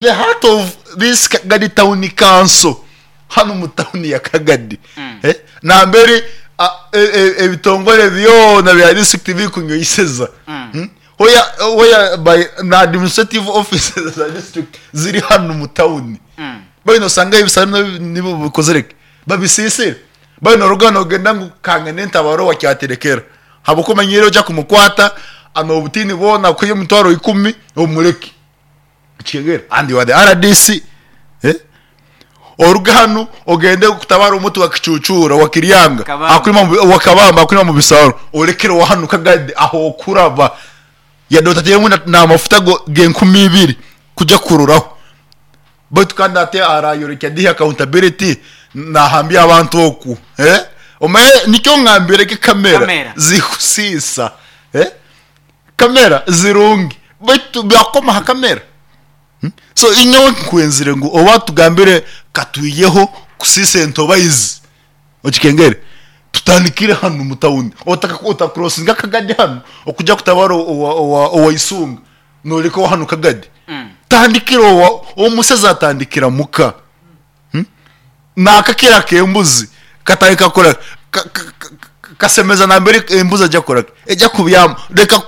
The heart of this Kagadi town council hanu omu tawuni ya Kagadi nambere ebitongore byona bya district birikunyweseza where by na administrative offices za district ziri hanu omu tawuni mbwenu nosanga ebisare nibo bikozire ki babisisire mbwenu noruga nogenda ngu kangende ntabare owa Kyaterekera ahabw'okuba omanyire oija kumukwata n'obutiini bwona akuhe emitwaro ikumi omureke. Okitegeera? And you are the RDC. Eh? Oruge hanu ogende kutabara omuti wa Kicucuura, wa Kiryanga, Kabamba. akurima mu- wa Kabamba akurima mu bisaaro, orekere owa hanu Kagadi aho okuraba. Yadde otateiremu na- n'amafuta go- g'enkumi ibiri kuja kuroraho. Baitu kandi ate arayorekya dihi accountability nahambya abantu oku. Eh? Omanye nikyo ngambire ge kamera Kamera. zikusiisa. Eh? Kamera zirungi baitu byakoma aha kamera. So nyowe nkwenzire ngu oba tugambire katwiyeho kusiisa entobaizi okikengere tutandikire hanu omu tawuni ota crossinga akagadi hanu okuja kutabara owa Isunga noreka owa hanu Kagadi tandikira owa omusezi atandikira muka. Naakakira ak'embuzi katandika kukora kasemeza nambere embuzi egya kukora ki? Egya kubyama. Reka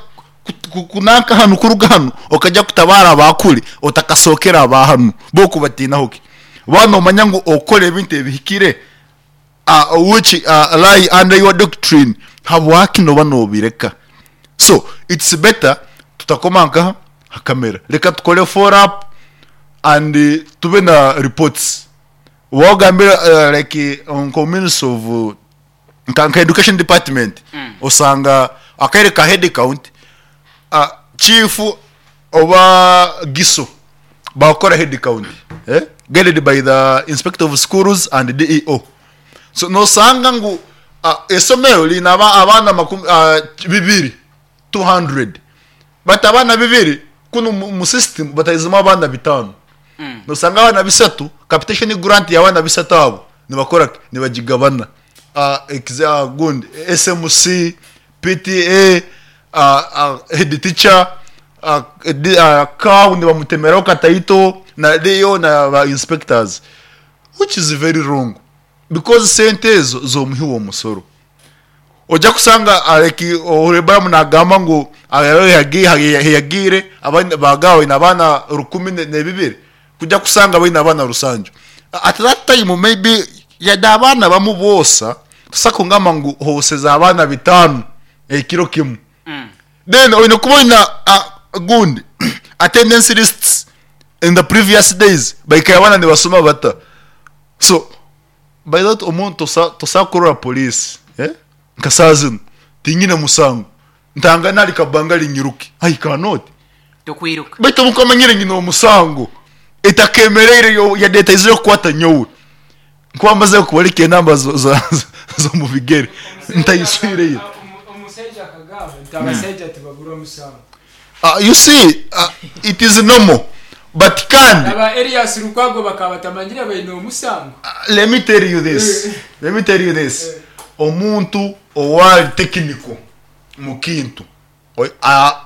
kunanka hanu kuruga hanu okagya kutabaara aba kuri otakasookere aba hanu bo okubatiinaho ki? Waaba noomanya ngu okukora ebintu ebihikire which lie under your doctrine habwaki nooba noobireka? So it's better tutakoma nkaha? Ha kamera. Reka tukore follow up and tube na reports. Wagambira like nka ministry of nka education department osanga akaire ka head count chief oba giso bakukora head count guided by the inspector of schools and DEO. So nosanga ngu eisomero riine abaana makumi bibiri, 200, but abaana bibiri kunu omu system bataizimu abaana bitaano. Nosanga abaana bisatu, capitation grant y'abaana bisatu abo nibakora ki? Nibagigabana. Gundi SMC, PTA, head teacher, cow nibamutemeraho kataito na DEO na ba inspectors which is very wrong because sente ezo z'omuhi w'omusoro. Oja kusanga like Oholibaramu nagamba ngu heyagiire baagaba baine abaana rukumi n'ebibiri kuja kusanga baine abaana rusanju. At that time maybe yade abaana bamu boosa tosobola kungamba ngu hooseze abaana bitaano ekiro kimu. Then oine kuba oine gundi attendance lists in the previous days baikaire abaana nibasoma bata. So By that omuntu tosobola kurora police nka saaha zinu tinyine musango ntangane ahari kabangari nyiruke I cannot. Tokwiruka. Baitu obu nkuba manyire nyine omusango etakemereire yade etaizire kukwata nyowe nkuba mazire kubareka enamba z'omu bigere ntayiswireyo. Omusaija akagamba nti abasaija tibabura omusango. You see it is normal but kandi. Aba Erias Lukwago bakaba batamanyire baine omusango. Let me tell you this, let me tell you this, omuntu owari technical mukintu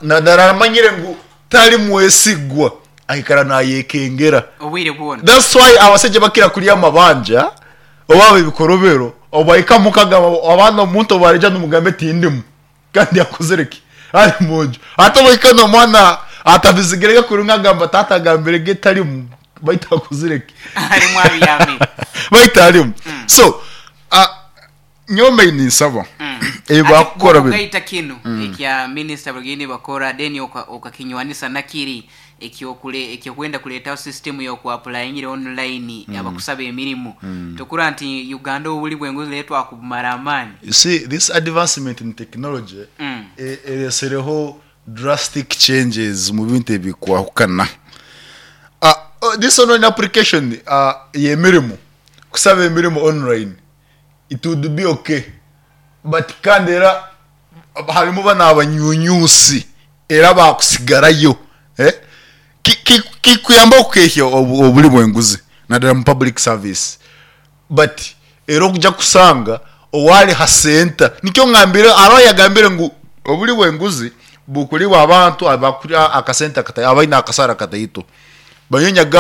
naramanyire ngu tari mwesigwa aikara nayekengera. Obwire bwona. That's why abasaija bakira kurya amabanja oba ebikorobero obahika muka agamba abaana omuntu obu arija nomugambe tindimu. Kandi akozire ki? Ari omu nju. Hati obu ohika n'omwana atabizigire ge kurungi agamba taata agambire ge tarimu baitu akozire ki? Arimu abyamire. Baitu arimu. So, nyowe mbaire ninsaba ebi Ati bakukora binu. Ogaita kinu ekya minisita bariyo nibakora then okakinywanisa nakiri ekyokwenda kureetaho system y'oku apurayingira online abakusaba emirimo. Tokurora nti Uganda oburi bw'enguzi reero twakubumara amaani. You see, this advancement in technology eretsireho drastic changes omu bintu ebirikwahukana. This online application y'emirimo, kusaba emirimo online, it would be okay but kandi era harimu banu abanyunyusi era bakusigarayo. Kikuyamba okukehya oburi bw'enguzi nadala omu public service but era okuja kusanga owari ha center nikyo ngambire hariho ayagambire ngu oburi bw'enguzi bukuribwa abantu abakurya akasente abaine akasara kataito. Banyowe nyaga.